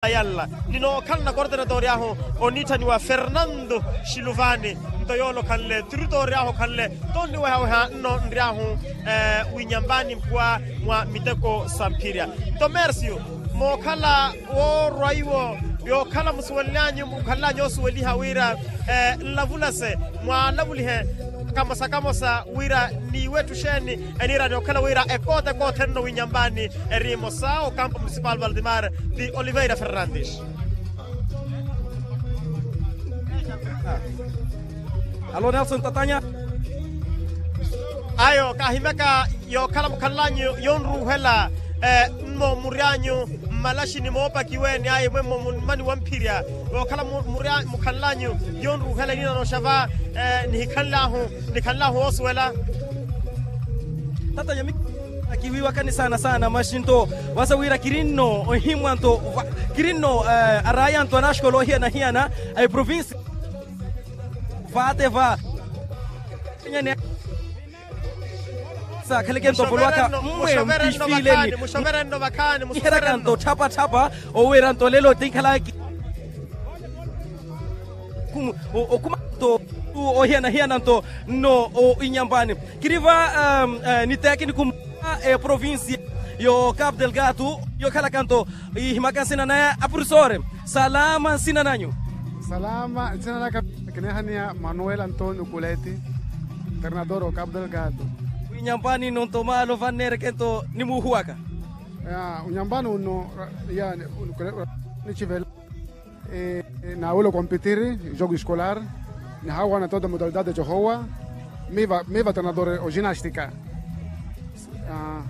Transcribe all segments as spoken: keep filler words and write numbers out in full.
Yalla ninookhalana kortenatori ahu oniitthaniwa fernando, xiluvani nto yoole okhanle turitoori ahu okhanle. Nto onniwehaweha nno nri ahu winyambani mpuwa mwa miteko sa mphirya. Nto mercio mookhala woorwa iwo yookhala musuwelelyanyu mukhanlanyu osuweliha wira nlavulase mwaalavulihe kamosa kamosa wira niiwetthu xeeni eniira ni okhala wira ekoota ekoothenno winyambani eri emosa okampo municipal valdemar. Ti oliveira fernandes. Alo nelson tatanya. Ayo kaahimyaka yookhala mukhanlanyu yonruuhela mmo muryanyu mmalaxini moopakiweeni ayi mwemmo mummani wamphirya. Yookhala mukhanlanyu yonruuhela eniina nooxava nihikhanlahu nikhanlahu woosuwela. Tata nyami akiwiiwakani saana saana maxi nto wasa wira kiri nno ohimwa nto kiri nno araya nto anaxikola ohiyana-hiyana a eprovinsi. Vaate va saakhaleke nto volowaka mmwe mpifiileni iheraka nto tthapa-tthapa. Owira nto lelo tinkhalaki okhuma nto ohiyana-hiyana nto nno inyambani. Kiri va niteekini kumwa eprovinsi yo capu delgado yokhalaka nto ihimaka nsina naya apurisore. Salama nsina nanyu. Salama nsina naka kineehaniya manuel antonio kuleti. Ternador o capu delgado. Winyambani nno nto maalo vanneereke nto nimuuhuwaka. Unyambani unno yani nichivela. Naawela okompitiri jogo escolar nihaawana toda modalidade johowa. Miva miva tanadore oginastika.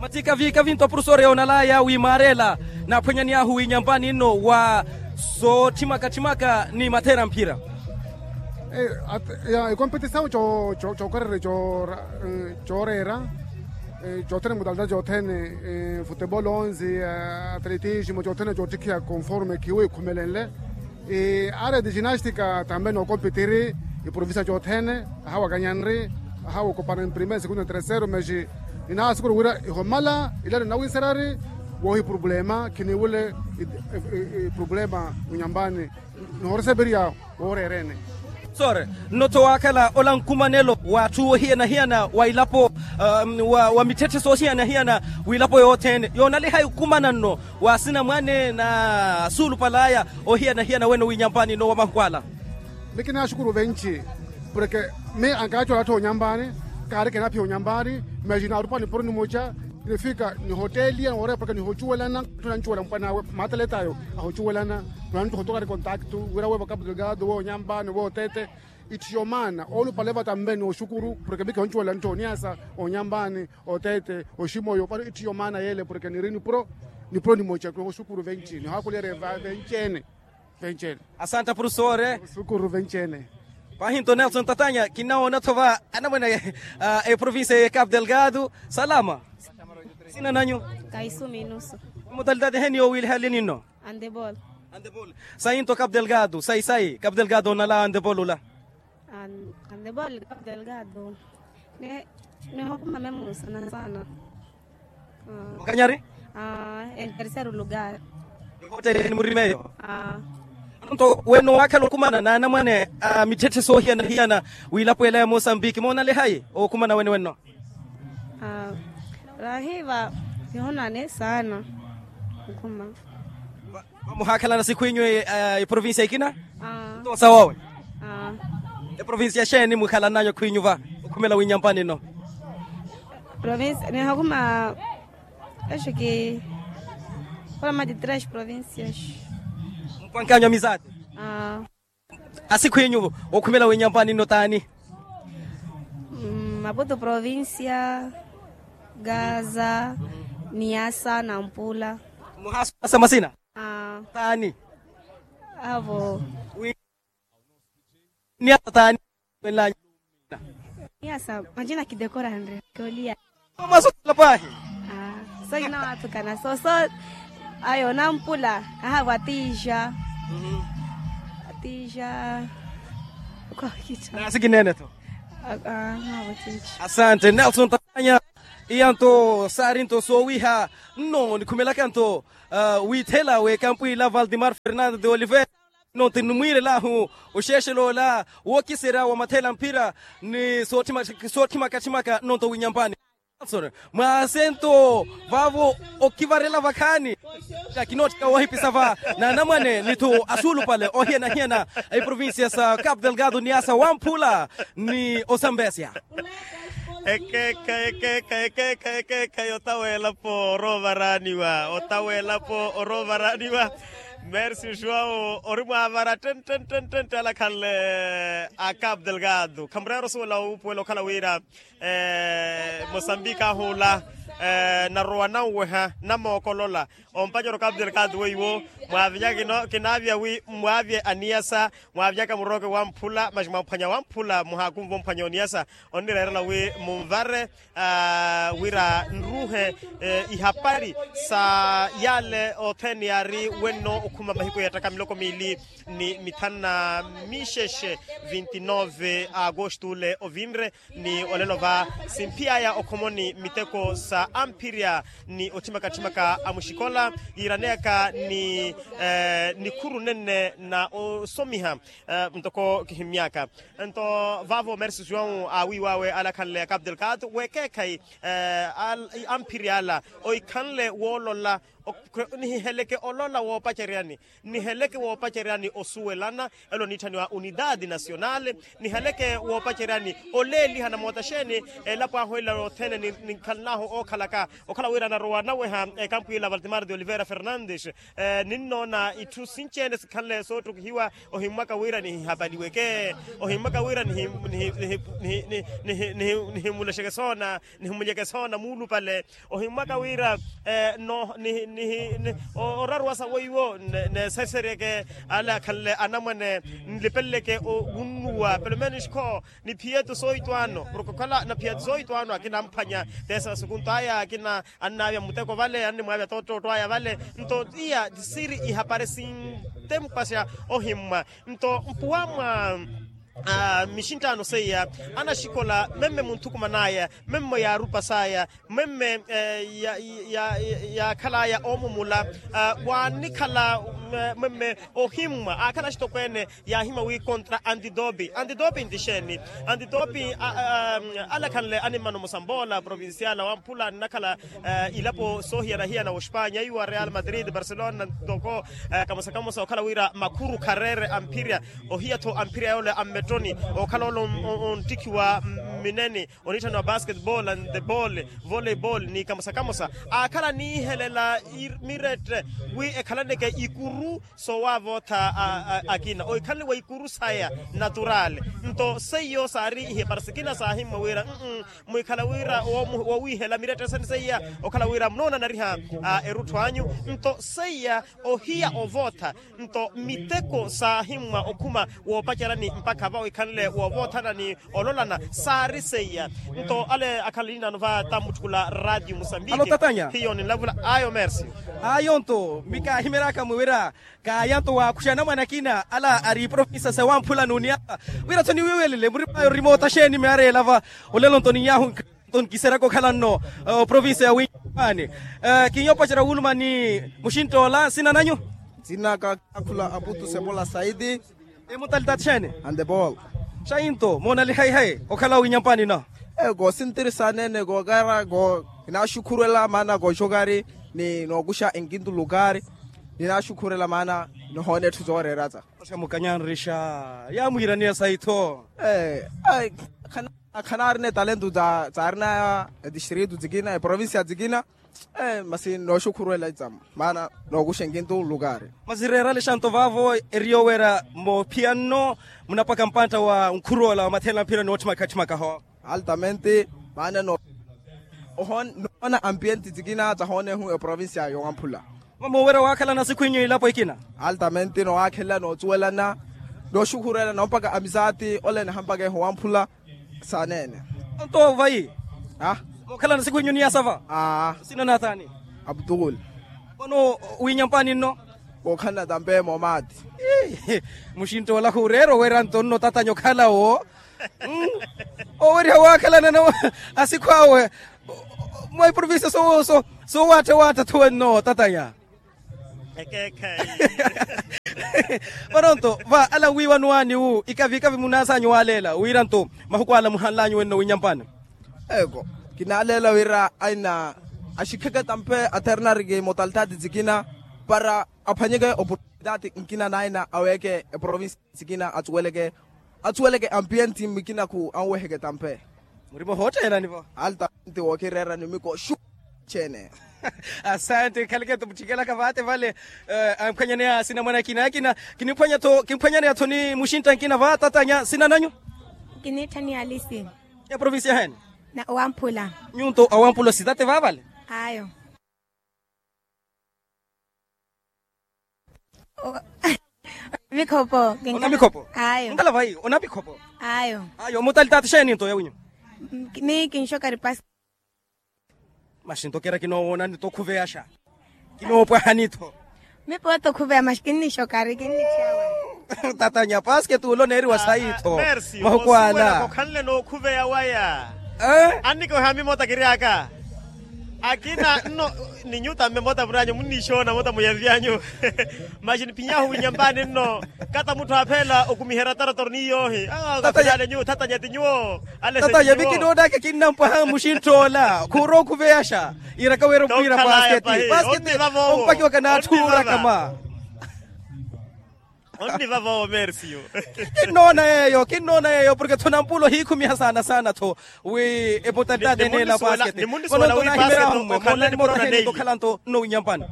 Mati kavi kavi nto apurusoore yoonalaya wi maareela naaphwanyani ahu winyambani nno wa sootthimaka-tthimaka ni matheera mphira. Ekompetisawu cookorerya cooreera cothene modalidade cothene futebolo onzi atletismo cothene coottikhiya conforme khiwo ikhumelenle. Arete ginastika tambe nookompitiri iprovincia cothene ahawa kanyanri ahawa okopana mprime segundo terceiro mas inaha sukuru wira ihomala ilano nawinserari wohi problema khiniwule iproblema unyambani. Nohoreseperiya wooreerene. Sore nno-tho waakhala ola nkumanelo w'atthu ohiyana-hiyana wa ilapo wa mitthetthe soohiyana-hiyana w'ilapo yothene yoonaliha ikumana nno wa asinamwane na suulupal'aya ohiyana-hiyana wene winyambani nno wa mahuku ala. Mikinaaxukuru venci porke mi ankaacola atthu onyambani kaari kinaphiya onyambani. Mas naarupwa nipuro nimoca nifika nihoteliya nooreya porke nihocuwelana atthu nancuwela mpwan'awe maataleta ayo ahocuwelana. Nwantthu hotokari kontaktu wira wevo kapu delgado weonyambani weotete. Itthiyo maana oolupale vata mbe nooxukuru porke mi kihoncuwela ntthi oniasa onyambani otete oximoyo vano itthiyo maana yeele porke niri nipuro nimoca nooxukuru venci nihaakulyerye venci ene. Venci ene. Asanta profesore. Oxukuru venci ene. Paahi nto nelson tatanya kinnawoona-tho va anamwene eprovincia ye capu delgado. Salama. Sina nanyu? Kaisumi inusu. Modalidade heni yowiiliha lini nno? Andebol. Andebol. Sayi nto capu delgado sayi sayi capu delgado onala andebol ula. Andebol capu delgado. Nihokuma memusa na sana. Okanyari? En terceiro lugar. Ehoteli ni murimeyo. Nto wene owaakhala okumana n'anamwane a mitthetthe soohiyana-hiyana w'ilapo ela ya mosambiki moonalehayi okumana wene wenno? Rahi va. Kihonane saana. Okhuma. Vamuhaakhalana sikhwinyu eprovincia ikina? Nto sawawe. Eprovincia xeeni muhalananyu khwinyu va okhumela winyampani nno? Provincia nihakhuma exiki. Ola mati tres provincias. Mpankanyu amizade. Asikhwinyu okhumela winyampani nno taani? Maputu provincia, gaza, niasa nampula. Muhaasumasa masina? Taani? Avo. Niasa taani? Niasa majina kidekoranre kiolia. Masutela paahi. Sokina wathukana soso. Ayo nampula. Ahavo atija. Atija. Kokita nasi kinene tho. Asante nelson tatanya. Iya nto saari nto soowiha nno nikhumelaka nto wiithela w'ekampu ila valdemar fernando de oliveira. Nno ti nimwiirelahu oxeexel'ola wookiserya wa mathela mphira ni sootthimaka-tthimaka nno nto winyampani. Mwaasento vaavo okivarela vakhaani kinootthikiwa woohipisa va na anamwane ni-tho asuulupale ohiyana-hiyana a iprovincia sa capu delgado ni asa wamphula ni osambesya. Ekeekhayi ekeekhayi ekeekhayi ekeekhayi otaweelapo oroovaraaniwa otaweelapo oroovaraaniwa. Mersi joão ori mwaavara ttenttenttentte alakhanle a capu delgado khamureera osuwela wuupuwela okhala wira mosambiki ahuula narowa nanweha namookolola ompanyeryo capu delgado weiwo. Mwaavinyaka kinaavya wi mwaavye aniyasa mwaavinyaka murooke wamphula masi mwamphwanya wamphula muhaakunva omphwanya oniyasa onnireerela wi munvare wira nruuhe ihapari sa yale othene yaari wenno okhuma mahiku yeettaka miloko miili ni mithanu na mixexe vinti nove a agosto ole ovinre ni olelo va simphiyaya okhomoni miteko sa amphirya ni otthimaka-tthimaka a muxikola yiiraneyaka ni nikhuru nenne na osomiha ntoko kihimmyaka. Nto vaavo mersi joão aawiiw'awe alakhanle a capu delgado weekeekhayi amphirya ala ohikhanle woolola nihiheleke olola woopaceryani niheleke woopaceryani osuwelana elo oniitthaniwa unidade nasionale niheleke woopaceryani oleeliha namootaxeeni elapo ahu ela othene nikhalanahu ookhalaka okhala wira anarowa anaweha ekampu ila valdemar de oliveira fernandes. Ninnoona itthu sinci-ene sikhanle soottukihiwa ohimmwaka wira nihihapaliweke ohimmwaka wira nihimmulexeke soona nihimunyeke soona muulupale ohimmwaka wira oraruwasa weiwo neeseseryeke ale akhanle anamwane nlipeleleke owunnuwa pelo menos kho niphiyetu sooyitwaano porke okhala naphiyetu sooyitwaano akina amphwanya teesa sukunto aya akina annaavya muteko vale annimwaavya toottootto aya vale. Nto iya ti siiri ihapari sintempasya ohimmwa nto mpuwa mwa mixinttaano seiya anaxikola memme munthukuman'aya memme yaarupas'aya memme yaakhal'aya oomumula waanikhala memme ohimmwa aakhala axitokweene yaahimwa wi kontra antidopi antidopi nti xeeni antidopi alakhanle animmano musamboola provincial wamphula nnakhala ilapo soohiyana-hiyana wa ospanya iwa real madrid barcelona ntoko kamosa-kamosa okhala wira makhuru khareere amphirya ohiya-tho amphirya yoole a mmettoni okhala ole onttikhiwa mmineni oniitthaniwa basketball and the ball volleyball ni kamosa-kamosa aakhala aniihelela mirette wi ekhalaneke ikuru soowaavootha akina ohikhanle wa ikuru saya natural nto seiyo saari ihipara sikina saahimmwa wira mwiikhala wira wowiihela mirette sani seiya okhala wira munoonanariha erutthu anyu nto seiya ohiya ovootha nto miteko saahimmwa okhuma woopacerani mpakha va ohikhanle woovothana ni ololana saari seiya nto ale akhala niinaano va tammutthukula radio musambiki hiyo ninlavula ayo mersi ayo nto mikaahimeryaka mwiwira kaayanto waakhuxa anamwane akina ala ari provinsa sewamphula n'uniyaka wira-tho niwiiwelele murim'aya orimootaxeeni meereyela va olelo nto ninyahu nto nkiseryaka okhala nno provinsa ya winyampani kinyoopacerya wuuluma ni muxintt'ola nsina nanyu nsina kakhula aputu sepola saidi emuntalitatixeene antepoola xainto moonalihayihayi okhala winyampani nno ekoosintirisa aneene kookara ko kinaaxukhurwela maana kooxokari ni nookuxa enkintu lukari ninaaxukhurela maana nihoona etthu zooreeratsa oxa mukanyanrixa yaamwiiraniya sayi-tho khanaarina etalento tsaarina etistritu tsikina eprovincia tsikina masi nooxukhurwela itsama maana nookuxa enkintu lukari masi reeralixa nto vaavo eri yooweera moophiya nno munapwaka mpantta wa nkhur'ola wa matheela mphira ni wootthimaka-tthimaka ho altamente maana noona ampienti tsikina tsahoonehu eprovincia yowamphula mama owerya waakhalana sikhwinyu ilapo ikina altamente nowaakhelela nootsuwelana nooxukhurela noompaka amisaati ole nahampaka ehu wamphula saaneene onto vayi mookhalana sikhwinyu niyasava nsina nathani aputukuli ono winyampani nno wookhalana tampe moomaati muxintt'ola khureera owerya nto nno tatanya okhala wo owerya waakhalana asikhw'awe Mwa iprovincia soowaatthawaattha thuwenno tatanya. Ekeekhayi. Vanonto va ala wiiwano aani wu ikavikavi munaasaanyu waaleela wiiranto mahuku ala muhanlanyu wenno winyampani. Eko kinaaleela wira aina axikheke tampe aternariki motalitaati tikina para aphwanyeke oportunitaati nkina naina aweeke eprovinsi tikina atsuweleke atsuweleke ampienti mikina khu anweheke tampe. Murimo hoottheenani vo. Alta nti wookireera nimiko xu. Cheene. Asante khaleke tumutthikelaka vaate vale. Amphwanyaneya sinamwana akina akina kiniphwanya-tho kimphwanyaneya-tho ni muxintta nkina va tatanya sina nanyu. Kiniitthaniya alisi. Ya provincia hene. Wamphula. Nyunto awamphula sitate vavale. Ayo. Mikhopo. Ona mikhopo. Ayo nkala vayi ona mikhopo. Ayo. Ayo mutalitaati xeeni nto yawinyu. Mi kinxokari pasi. Maxi nto kera kinoowoonani to khuveyaxa. Kinoopwahani tho. Mipo to khuveya maxi kinnixokari kinnixawa. Tatanya paske tuulo neeriwa sayi tho. Mahuku ala kokhanle nookhuveya waya. Annike ohaami mota kiri aka. Akina nno. Ni nyuta mme mota muranyu munnixoona mota muyanvyanyu. Maxi niphinyahu winyampani nno. Kata mutthu aapheela okumiherya tarotoro ni yoohi. Tatanya nyuwo. Tatanya vikinoonaka kinnampwaha muxinttoola khuura okhuveyaxa. Iraka wira okhwiira pasketi pasketi. Ompakiwaka n'atthu ooraka ma. Onniva voovo mersiyo. Kinnoona yeeyo kinnoona yeeyo porke tho nampula ohiikhumiha saana saana tho. Wi epotantaati eneela pasketi. Vano nto nahimeraho mmwe moonani moota heni tokhala nto nno winyampani.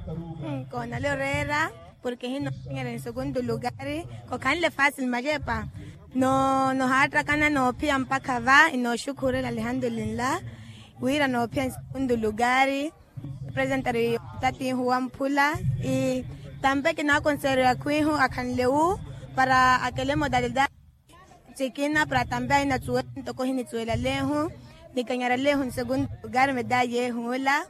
Nkoonale oreera porke hinoophinyerya nsekuntu lukari. Kokhanle fasil macepa. Nohaattakana noophiya mpakha va inooxukhurela alihandulinla. Wira noophiya nsekuntu lukari. Presentari tatiihu wamphula. Tampe kinaakonseeriwa khwiihu akhanle wu para akele modalidade. Tikina para tampe ahinatsuwela ntoko ohinitsuwela leehu. Nikanyara leehu nsekuntu lukari medayi yeehu ola.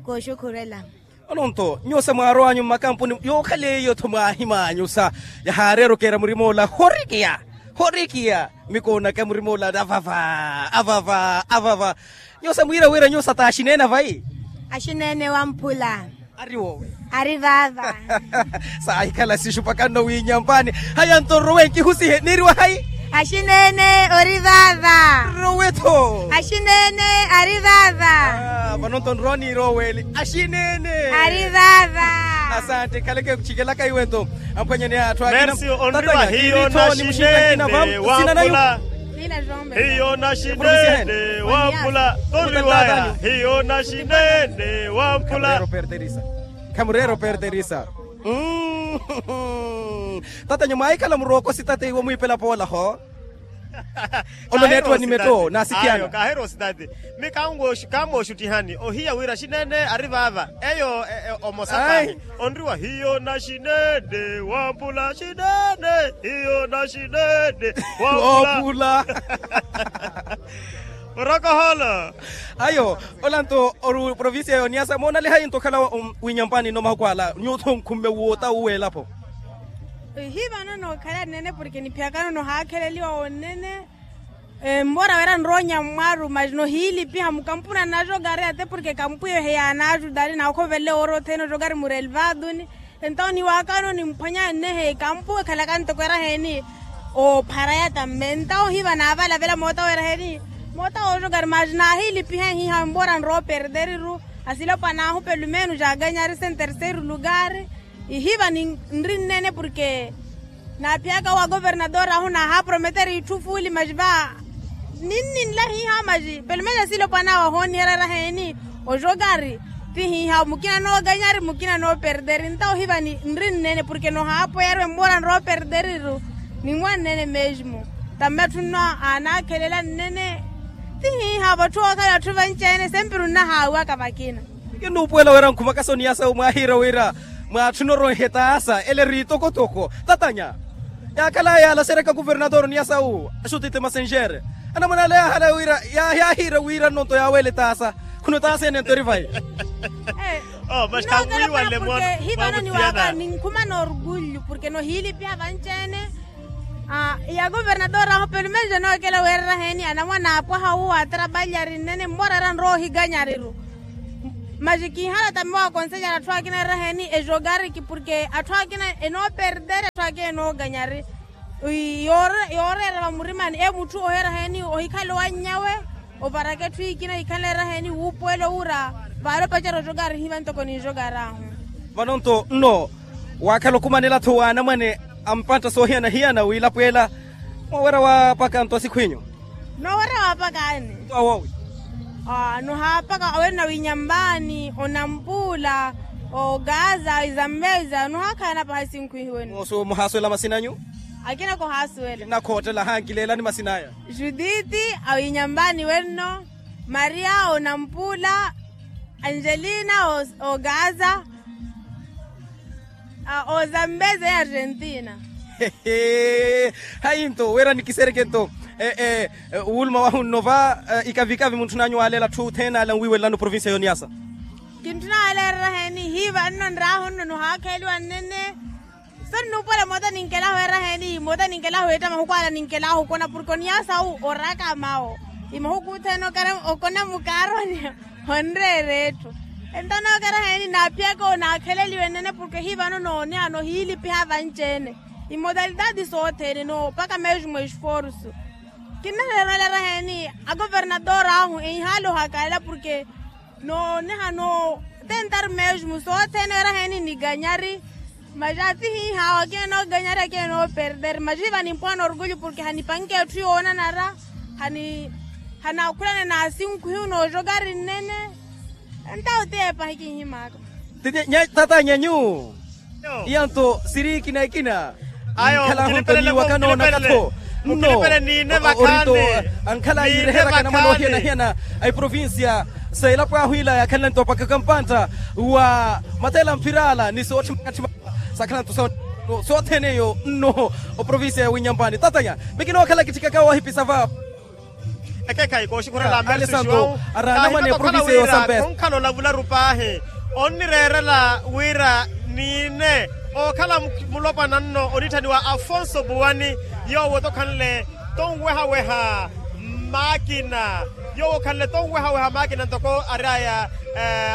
Kooxukhurela. Ononto nyuwo sa mwaarow'anyu mmakampuni yookhala eyo tho mwaahim'anyu sa yahaareera okeera murim'ola horikiya. Horikiya. Mikoonaka murim'ola avava avava avava. Nyuwo sa mwiira wira nyuwo sa taaxineene vayi. Axineene wamphula. Ari woowe. Ari vaava. Saahikhala sixupaka nno wiinyampani. Haya nto nrowe nkihusihe niiriwa hayi. Axineene ori vaava. Nrowe-tho. Axineene ari vaava. Vano nto nrowa niirooweeli axineene. Ari vaava. Asante khaleke khucikelaka iwe nto. Amphwanyaneya atthu akina. Mersi onriwa hiyo naxineene wamphula. Hiyo naxineene wamphula. Tonriwaya hiyo naxineene wamphula. Khamureera operterisa. Tatanyu mwaahikhala murooko sitate iwo mwiipela poola ho. Oloneettiwa ni metto naasikhiyana. Kaahirowa ositati. Mi kammooxuttihani ohiya wira axineene ari vaava. Eyo omosa paahi. Onriwa hiyo naxineene wamphula axineene hiyo naxineene wamphula. Murokoholo. Ayo. Ola nto ori provincia ya oniyasa moonalihayi nto okhala winyampani nno mahuku ala nyuwo-tho nkhumme woota wuweelapo. Ihi vano nookhala nnene porke niphiyakano nohaakheleliwa wonnene. Mmoora wira nronya mmwaru mas nohiilipiha mukampuna naxokari ate porke kampu eyo heyaanaxutari naakhovelele woora othene oxokari murelvaduni. Entawo niwaakano nimphwanya nnehe ekampu ekhalaka ntoko eraheni. Oopharaya tamme entawo hiva naavalavela moota weeraheni. Moota wooxokari mas naahiilipiha ehiihawe mmoora nrowa operteriru. Asilopwan'ahu pelumenos jaakanyari sen terceiro lukari. Ihiva ninri nnene porke naaphiyaka owa governador ahu naahaaprometere itthu fuuli mas va. Ninninla hiihawe mas pelumenos asilopwan'awe ahooniherya eraheni. Oxokari ti hiihawe mukina nookanyari mukina nooperderi ntawo hiva ninri nnene porke nohaapoyariwe mmoora nrowa operderiri. Ninwa nnene mesmo. Tamme atthu nno aanaakhelela nnene. Ti hiihawe vatthu ookhala atthu vanci-ene sempre onnahaawiwaka vakina. Kinnuupuwela wira nkhumaka soniyasa wu mwaahiira wira mwaatthuna oronha etaasa ele eri itokotoko tatanya. Yaakhala yaalaseryaka kuvernator oniyasa wu axutite masenxere. Anamwane ale yaahala wira yaahiira wira nnonto yaaweela etaasa. Khunno etaasa ene nto eri vayi. Hivano niwaaka ninkhuma noorgullu porke nohiilipiha vanci-ene. Ya governador ahu pelumenxe nookela weereraheni anamwane aapwaha wu atrabalyari nnene mmoorara nrowa ohikanyariru. Maxi kinhala tambi wa konseyara atthu akina eraheni ejogariki porke atthu akina enooperder atthu akina enooganyari. Yooreera vamurimani emutthu oheraheni ohikhale owannyawe. Oparaka etthu ikina hikhanle eraheni wuupuwelo wura. Vaale opacera ojogari hiva ntoko ninjogari ahu. Vano nto nno waakhala okhumanela-tho wa anamwane a mpantta soohiyana-hiyana wiilapweela. Moowerya waapaka nto asikhw'inyu? Noowerya waapaka ani? Awowi. Nohaapaka awerina winyambaani onampuula, ogaza izambeza nohaakhalana paha esinkhu ihiwenu. Muhaasuwela masin'anyu? Akina kohaasuwela. Nakhottela hankileelani masin'aya. Judith, awinyambaani wenno, maria onampuula, angelina, ogaza, ozambeza ya argentina. Hayi nto wira nikisereke nto, wuuluma wahu nno va ikavikavi muntthun'anyu waaleela atthu othene ale anwiiwelelani oprovincia y'oniasa. Kintthuna waaleela eraheni hiiva nno nraahu nno nohaakheeliwa nnene. So nnuupola emoota ninkelahu eraheni emoota ninkelahu eetta mahuku ala ninkelahu okona porke oniasa awu oraaka mawo. Imahuku othene okona mukaaroni. Honreera etthu. Ento nookeraheni naaphiyaka onaakheleliwe nnene porke hivano nooniha nohiilipiha vanci-ene. Imodalitaati sothene noopaka mesmo esforsu. Kinnahererwela eraheni agovernator ahu enhaale ohakalela porke nooniha no tentar mesmo sothene eraheni niganyari. Maxi atihiiha awo akina nooganyari akina nooperder maxi hiva nimpwaha norgulyo porke hanipanke etthu yoonanara. Hanaakhulane n'asinkhu hiyu noojokari nnene. Entawo tiye pahi kinhimaaka. Tata nyanyu. Iya nto siri ikina ikina. Ayo nkhala ahu nto niiwaka noonaka-tho nno. Ori nto ankhala yiireheraka namwana ohiyana-hiyana a iprovincia sa elapo ahu ila yaakhalana nto opakaka mpantta wa matela mphirala ni sootthimaka tthimaka. Saakhala nto sothene eyo nno oprovincia ya winyampani tatanya. Mikinookhala kitthikaka wahipisa va. Ekeekhayi kooxikhurela amersu xiwawu. Araana mwane oprovincia yoosambesa. Khonkhala olavularu paahi onnireerela wira niine ookhala mulopwana nno onitthaniwa afonso buwani. Yoowo tokhanle tonwehaweha maakina. Yoowo okhanle tonwehaweha maakina ntoko ari aya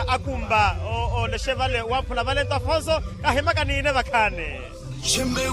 akumba. Olexe vale wamphula vale nto afonso kahimaka niine vakhaani.